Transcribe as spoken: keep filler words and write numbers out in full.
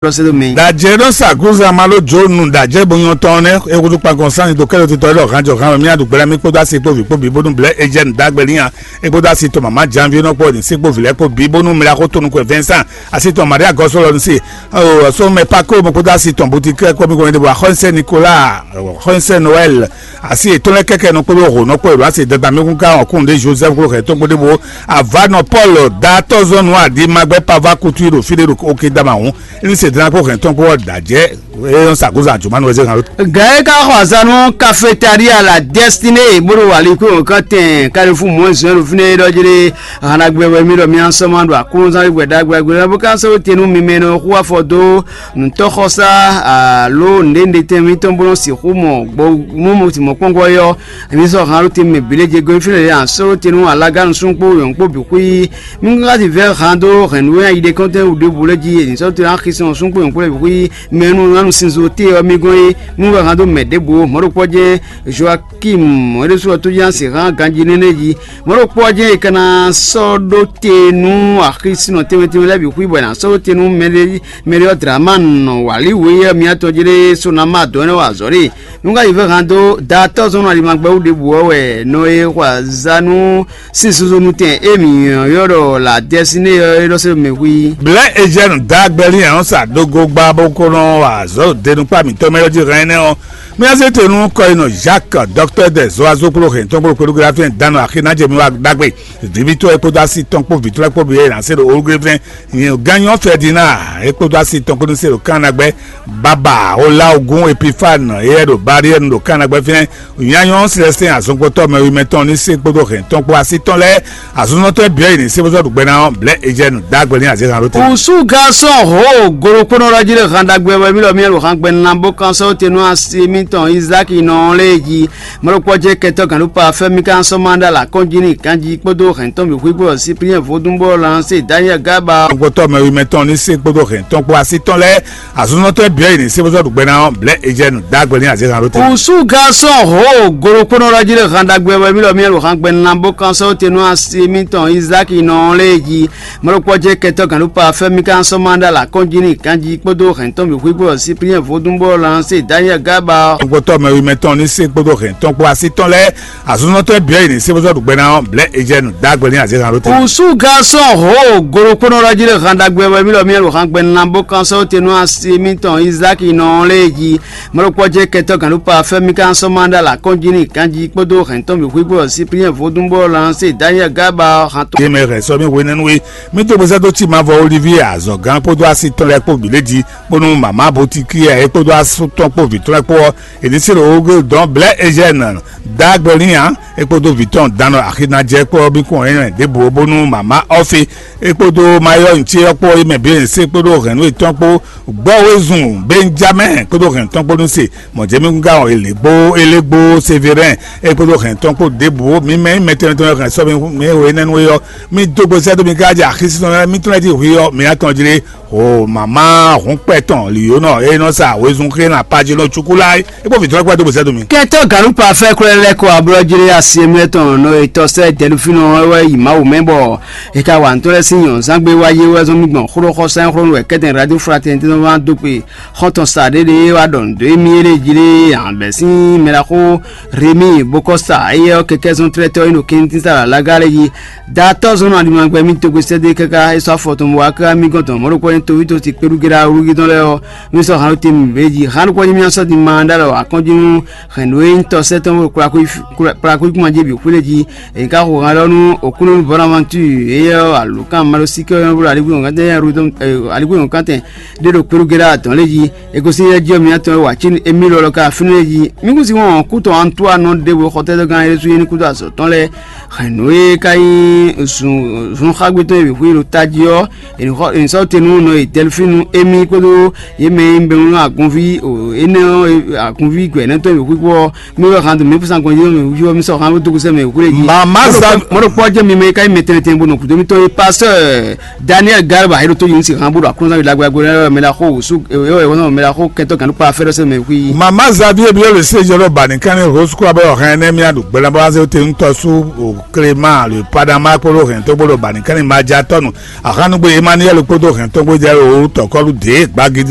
Lɔ se ɖo mɛ. Dajɛ ɖɔ sa gúzan ma ló jó nu dajɛ bo nyɔ tɔn nɛ ekutu kpankɔn sanni to kɛlɛ tutɔ lɔ hàn jɔ hàn mí aɖu gbɛlɛ mí kpódó asi kpó vi kpó bi bónú blɛ ejɛ nu dàgbẹ́ níyan ekpódó asi to mama janvier nɔ kpó ní sí kpó vilɛ kpó bi bónú mla kó tónu kó Vincent asi tɔn Maria gɔsɔ lɔ ní sí. Ɔ so mɛ pa kó mo kpódó asi tɔn boutique kó mi kó mi de bo axɔnsɛ Nicolas, axɔnsɛ Noël, asi ètò lɛ kɛkɛ nɔ kpódó hò nɔ kpó èlò asi dada mi kún ká ɔkún de Joseph kó hɛ tó kpódó bo avanɔ Paul datɔ zɔnu adi magbɛ pava kutu yi ɖo fí ɖé ɖo oke dama hùn. Ní se dlán kó hɛn tɔn kpó ɔ́ dǎjɛ é nɔ sa gúzan jǒmánu wɛ zé hàn ló. Gǎ é ka xɔ azǎn nú cafétéria la Destinée bó ɖo wǎlíkúnwun kán tɛn Carrefour Moins un ɖo fínɛ́ é ɖɔ jí ɖé. Hanagbɛ wɛ mí ɖɔ mí asɔ́ ma ɖo aklúnɔzán gbɛ ɖagbe ɖagbe bó ka sɔ́ te nú mi mɛ nɔ xú afɔ dó nǔtɔ́xɔsá alo nǔɖénúɖé tɛn mítɔn bó nɔ sixú mɔ gbɔ nú mɔ̌kpɔ́ngɔ́ é ɔ́, mí sɔ́ han ɖó te mɛ bǐ lɛ́ɛ jɛ gɔ́ fínɛ́ lě a sɔ́ ɖó te nú alágánusún kpó yɔ̌n kpó bǐ xwí. Mí ŋá ti vɛ́ han dó hɛ̌nnu e ná yi ɖe kɔ́ntɛn wǔ ɖěbǔ lɛ́ɛ jí, è nǐ sɔ́ te ná xi sɔn súnxwe nyɔ̌kpɔ́ lɛ́ɛ bǐ xwí mɛ e nú ná nu sinzo te ɔ́ mì gɔ́n é. Mí wɛ han dó mɛ ɖěbǔ ó. Mɔ̌ ɖokpɔ́ jɛ́n Joakim é ɖésú ɔ́ tó jɛ́n ná se hán ganjí nɛ́nɛ́ jí. Mɔ̌ ɖokpɔ́ ɔ́ jɛ́n è ka ná sɔ́ ɖó te nú axi sinɔ tɛnmɛ tɛnmɛ lɛ́ɛ bǐ xwí bɔ è nǎ sɔ́ ɖó te nú mɛɖé mɛɖé ɔ́ Dlamán wǎlíwǔ e yɛ mǐtɔn jí ɖé Sonama dɔ̌n énɛ́ wa azɔ̌ ɖe. Nú ká yi vɛ́ han dó datɔ́ zɔn nɔ alimagbɛ́ wú ɖěbǔ ɔ́ wɛ nɔ e xɔ azǎn nú sín zozo nú tɛn e mǐ ylɔ́ ɖɔ la Dɛsiné ɔ́ é ɖɔ sɛ́ mɛ hu i. Blɛ̌ Ejɛ́nu dǎgbɛ́ lín ɔ́ sa dógó gbá bó kó nɔ wa azɔ̌ ɖo denukpá mǐtɔn mɛ ɔ́ jí hɛn énɛ́ ɔ́, mì ná zé te nú kɔyinɔ Jacques, dɔktɔ́ dɛ zɔ azókpló hɛntɔn kpó kpéɖúgbéɖá fɛ́n dánɔ axi ná jɛ mi wá ɖagbe. Vǐvítɔ́ e kpódó asi tɔn kpó vǐ tɔn lɛ́ɛ kpó bǐ e nǎ se ɖo Oluglévɛ́n, Gannyɔ́ Fɛdináa e kpódó asi tɔn kpó ní se ɖo Kannagbɛ́, Baba Olaogun Epifáne e yɛ ɖo Baryɛ́nu ɖo Kannagbɛ́ fínɛ́, Nyanyɔ́ Silɛstɛn azɔngbɔtɔ́ mɛwimɛ tɔn ní se kpódó hɛn tɔn kpó asi tɔn lɛ́ɛ, azɔ̌nzɔ́tɔ́ e bǐ ɔ́ yi ní se bó sɔ́ ɖu gbɛ ná ɔ́, blɛ̌ Ejɛ́nu dó agbe n'i azǐ han ɖó te. Kùsú Gasɔn Ho golokpónɔ ɖɔ jí ɖo han ɖagbe wɛ mí ɖɔ mí ɖo han gbɛ ná bó kán sɔ́ te nú asi mítɔn Izáki nɔ ɔ́ lɛ́ɛ jí. Mɔ̌ ɖokpɔ́ jɛ́n kɛtɔ́ gǎnɖópa fɛ́ mí ka sɔ́ má ɖó alǎ kɔn jí n'i ganjí kpódó hɛ̌ntɔn bǐ xwí kpó Sipriɛn vodún bó lɔn se Danyɛ́ɛ Gába. Gbɔtɔ́ mɛwimɛ tɔn ní se kpódó hɛ̌ntɔn kpó asi tɔn lɛ́ɛ, azɔ̌nzɔ́tɔ́ e bǐ ɔ́ yi ní se bó sɔ́ ɖu gbɛ ná ɔ́, blɛ̌ Ejɛ́nu dó agbe n'i azǐ han ɖó te. Kùsú Gasɔn Ho golokpónɔ ɖɔ jí ɖo han ɖagbe wɛ mí ɖɔ mí ɖo han gbɛ ná bó kán sɔ́ te nú asi mítɔn Izáki nɔ ɔ́ lɛ́ɛ jí. Mɔ̌ ɖokpɔ́ jɛ́n kɛtɔ́ gǎnɖópa fɛ́ mí ka sɔ́ má ɖó alǎ kɔn jí n'i ganjí kpódó hɛ̌ntɔn bǐ xwí kpó Sipriɛn vodún bó lɔn se Danyɛ́ɛ Gába. Gbɔtɔ́ mɛwimɛ tɔn ní se kpódó hɛ̌ntɔn kpó asi tɔn lɛ́ɛ, azɔ̌nzɔ́tɔ́ e bǐ ɔ́ yi ní se bó sɔ́ ɖu gbɛ ná ɔ́, blɛ̌ Ejɛ́nu dó agbe n'i azǐ han ɖó te. Kùsú Gasɔn Ho golokpónɔ ɖɔ jí ɖo han ɖagbe wɛ mí ɖɔ mí ɖo han gbɛ ná bó kán sɔ́ te nú asi mítɔn Izáki nɔ ɔ́ lɛ́ɛ jí. Mɔ̌ ɖokpɔ́ jɛ́n kɛtɔ́ gǎnɖópa fɛ́ mí ka sɔ́ má ɖó alǎ kɔn jí n'i ganjí kpódó hɛ̌ntɔn bǐ xwí kpó Sipriɛn vodún bó lɔn se Danyɛ́ɛ Gába hantɔn. Yé mɛ hɛn sɔ́ mì hwenɛ́nu e mítɔ́ gbèsè dó cí mavɔ Olivie azɔ̌gán kpódó asi tɔn lɛ́ɛ kpó bǐ lě jí, bónú mama Botikia é kpódó asú tɔn kpó vǐ tɔn lɛ́ɛ kpó ɔ́, è ní se ɖo wógbe dɔn blɛ̌ Ejɛ́nu dó agbe n'i ǎ, é kpódó vǐ tɔn dánɔ axi ná jɛ kpó ɔ́, mì kún ɛnɛ ɖěbǔ bónú mama Ɔ́fi é kpódó Mayɔ́ ce ɔ́ kpó é mɛ bǐ è ní se kpódó hɛ̌nnu yětɔn kpó gbɔ́ wezun Benjamɛ́ɛ kpódó hɛ̌ntɔn kpó nú se. Mɔ̌ jɛ́n mì gán ɔ́, è lě gbó, è lě gbó Severɛ́n, é kpódó hɛ̌ntɔn kpó ɖěbǔ, mi mɛ nyí mɛ tɛnmɛ tɛnmɛ hɛn sɔ́ mi, mi e hwe énɛ́ nú é ɔ́, mi dó gbe sɛ́ dó mi káká jɛ axi sísɔ́ mɛ, mi tɔn lɛ́ jí hwi ɔ́, mi ná tɔn jlé. O mama hǔn kpɛ tɔn lǐyónɔ e nɔ sa wezun xé na Pajínɔ Cukulá é kpó vǐtɔ́ kpɛ́ dó gbe sɛ́ dó mi. Kɛntɔ́ gǎnúpa fɛ́ kwlɛ́ lɛ́ kɔ ablɔ́ jlé asi e mlɛ́ tɔn nɔ e tɔ́ sɛ́ dɛ̌núfínɔ ɔ́ wɛ yi Mawu mɛ bɔ è ka wa nǔtɔ́ lɛ́ɛ sín nyɔ̌nzángbe wá yé wɛ zɔn mì gbɔn xóɖóxɔsá e xlɔ́ nú wɛ kɛ́tɛn Radio Fraternité tɔn wá dó kpe xɔ́ntɔn sa ɖé ɖé wá ɖɔ nǔ dó émí é lé jí lé ǎ bɛ́ sín mɛɖaxó Remi Bokɔsa éyɛ́ ɔ́ kɛkɛ́ zɔn tlɛ́tɔ́ é ɖo kɛntín sa ɖo alága lɛ́ɛ jí. Datɔ́ zɔn nɔ aɖimlangbe mì togbesɛ́dé káká é sɔ́ afɔ tɔn bó wá ká mì gɔ́n tɔn mɔ̌ ɖokpó nyí toví tɔn si kpéɖúgéɖá wúlúgí tɔn lɛ́ɛ ɔ́, mì sɔ́ han ɖó te mì bě jí. Han ɖokpó nyí mì sɔ́ din ma ɖó alɔ akɔ́njí nú hɛ̌nnu e nyí tɔ́sɛ́ tɔn kplakúkúma jí bǐ xwlé jí. È ká xo han lɔ nú Oklúnú Bonaventure éyɛ́ ɔ́ alǒkan Malosíkɛ ɔ́ nyɔ́ bló aligbó nyɔ̌kántɛn ɖé ɖo kpéɖúgéɖá atɔn lɛ́ɛ jí. È gosín yɛ jí ɔ́ mǐtɔn e wa cí émí lɔlɔ ká fínɛ́ jí. Mí kún sí wɔn kú tɔn Antoine ɖěvo xɔtɛ́zɔ́gán Yésu nyí kúdó azɔ̌ tɔn lɛ́ɛ. Hɛ̌nnu e ka nyí zunxágbé tɔn e bǐ xwé ɖo tají ɔ́, è nǐ sɔ́ te nú nɔ e Dɛlfínu émí kpódó yě mɛ e nyí bɛnú agunví énɛ́ ɔ́ agunví gbɛ̌nɛ́ tɔn e bǐ xwé kpó ɔ́, mí wɛ han dó mǐ kpó sán gbɔn yé mɛ wúyɔ mí sɔ́ han dó gosɛ́ mɛ wúlé jí. Mama Zavi. Mɔ̌ ɖokpó ɔ́ jẹ́ mi mɛ e ka nyí mɛ tɛnmɛ tɛnmɛ bó nɔ gǔdo mítɔn e Pasteur Daniel Garba é ɖo tó yě ní si han bó ɖo aklúnɔzán ɖagbe ɖagbe lɛ́ɛ mɛ ɖaxó wǔsú ɛ ɛ ɛ mɛ ɖaxó kɛntɔ́ gǎnɖókpa fɛ́ ɖɔ sɛ́ mɛ xwí. Mama Zavi e byɔ́ le séjɔ ɖɔ ba nìkan ní Rose kura bɔ hɛn nɛ mía ɖo gbɛlɛnbɔ azé te ŋutɔ sú Clément le Padama kpódó hɛn tó gbódò ba nìkan ní ma ja tɔnu. Ahanugbe Emmanuel kpódó hɛn tó gbódò jɛ o tɔkɔlu dé gbagi